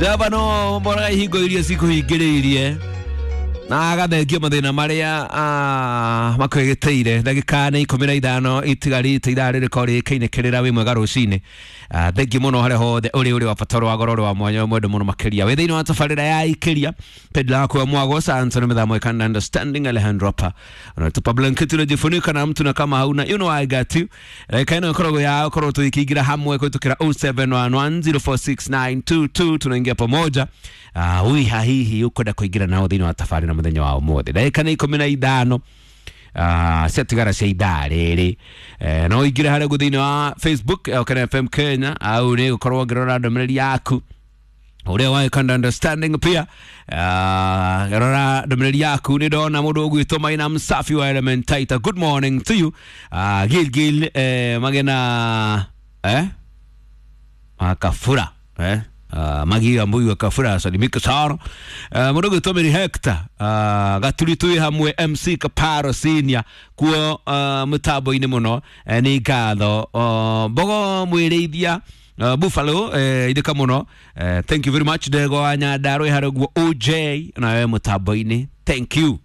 Jehova no mboraga ihingo iria cikũhingĩrĩirie na agathengia mathĩna marĩa makwĩgĩtĩire. Ndagĩka nĩ 15 itigarĩte ithaa rĩrĩkorwo rĩkĩinĩkĩrĩra. Wĩ mwega rũcinĩ. Thengiũ mũno harĩa hothe ũrĩ, ũrĩ wa bata, ũrĩ wa goro, ũrĩ wa mwanya, mwendo mũno makĩria wĩ thĩinĩ wa tabarĩra ya ikĩria pendla wako wa mwago santo na mĩthamo ikanda understanding Alejandro hapa unatupa blanketi unajifunika na mtu na kama hauna, you know I got you. Dakika ĩno ĩkoragwo ya ũkorwo tũgĩkĩingĩra hamwe kũhĩtũkĩra 0711046922. Tunaingia pamoja. Wiha hihi ũkwenda kũingĩra nao thĩinĩ wa tabarĩra mũthenya wa ũmũthĩ? Ndagĩka nĩ 15 ciatigara cia ithaa rĩrĩ. No ingĩre harĩa ũguo thĩinĩ wa Facebook Okene FM Kenya, au nĩ gũkorwo ngĩrora ndũmĩrĩri yaku ũrĩa wa Kanda understanding pia. Rora ndũmĩrĩri yaku, nĩ ndona mũndũ ũgwĩtwo Maina Msafi wa Elementaita. Good morning to you. Gilgil magena makafura magia mbuyu akafura salimika sana. Mũndũ ũgwĩtwo Mary Hector, gaturi twĩ hamwe MC Kaparo Senior kuo mũtambo-inĩ mũno. Nĩ ngatho. Mbogo mwĩrĩithia Buffalo, ithika mũno. Thank you very much. Ndego wa Nyandarua harĩa ũguo OJ nawe mũtambo-inĩ, thank you.